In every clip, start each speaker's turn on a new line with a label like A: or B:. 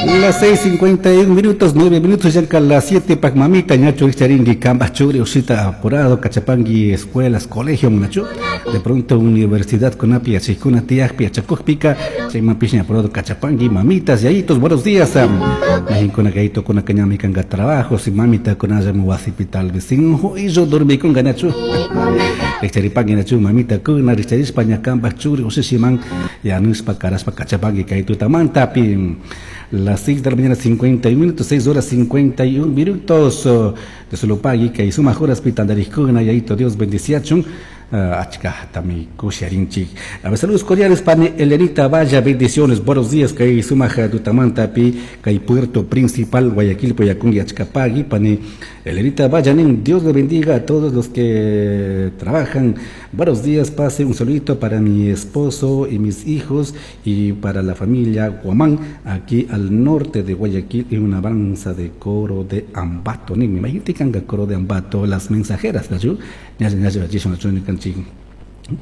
A: Las 6:51 minutos, 9 minutos, ya las 7 pak mamita, ñachu charingi, kambaj churi, ushita apurado, kachapangui, escuelas, colegio, munachu. De pronto universidad kunapi yachajkuna tiyajpi yachakujpika, chaymanpish ña apurado kachapangui, mamitas, yayitos, buenos días. Majinkuna yayitokuna ñami kanga trabajo, si mamita kunallami wasipi tal vez sin juillo dormikunga ñachu. Richaripangui ñachu, mamita kuna, richarishpa ña kambaj churi, ushushiman, yanushpa, karashpa, kachapangui, kay tutamantapi. Las 6 de la mañana 51 minutos, 6 horas 51 minutos. De Solopagui, kay sumaj horas pitandarikuna, yayito Dios bendiciachun. Achka tami kusharinchik. A ver, saludos cordiales pani Elenita Vaya, bendiciones, buenos días, kay sumaj tutamantapi, kay Puerto Principal, Guayaquil, Poyacungi, Achkapagui, pani Elenita Vaya, nin, Dios le bendiga a todos los que trabajan. Buenos días, pase un saludito para mi esposo y mis hijos y para la familia Guamán, aquí al norte de Guayaquil, y una alabanza de coro de Ambato. Nin, me imagino que coro de Ambato, las mensajeras, ¿no?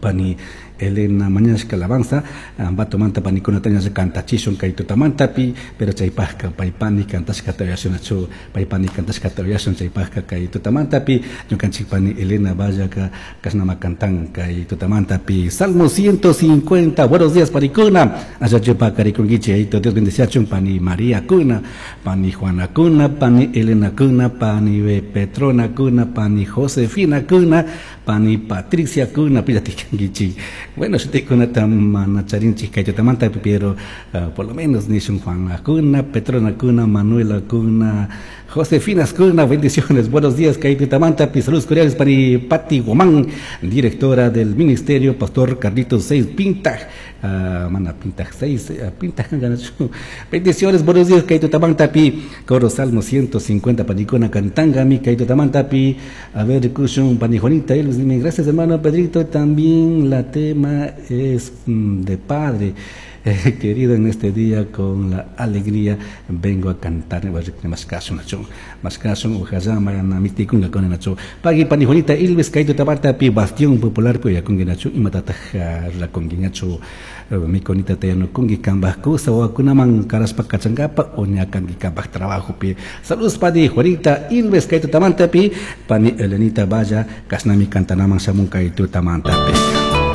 A: Pani Elena mañashka alabanza Ambato manta panikunata ña kantachishun kay tutamantapi, pero chaypajka paypani kantashkata uyashunachu, paypani kantashkata uyashun chaypajka kay tutamantapi ñukanchik pani Elena Vallaka kashnama kantan kay tutamantapi. Salmo 150. Buenos días, panikuna, achachupa karikunkichik, ayito Dios bendeciachun pani María kuna, pani Juana kuna, pani Elena kuna, pani Petrona kuna, pani Josefina kuna, pani Patricia kuna, pillatikankichik. Bueno, shutikunata mana charinchik kay tutamanta, pero por lo menos nishun Juan kuna, Petrona kuna, Manuela kuna, Josefina kuna, bendiciones, buenos días, kay tutamanta, saludos cordiales pani Pati Guamán, directora del ministerio, Pastor Carlitos 6 Pintaj, mana Pintaj 6, Pintaj, bendiciones, buenos días, kay tutamanta, pi, coro Salmo 150, panikuna cantangami, kay tutamanta, pi, a ver, kushun, pani Juanita, Elvis, dime, gracias hermano Pedrito, también la tema es de padre. Querido, en este día con la alegría vengo a cantar. Pagui pani Juanita Ilves kaito tabarta pi bastión popular pi yakungi nachu imatataq rakungi ñachu mikunita tayanukunki kambaj kusa wawakunaman karashpa kachankapa o ña kanki kambaj trabajo pi. Saludos pani Juanita Ilves kay tutamantapi, pani Elenita Valla kashnami kantanaman shamun kay tutamantapi.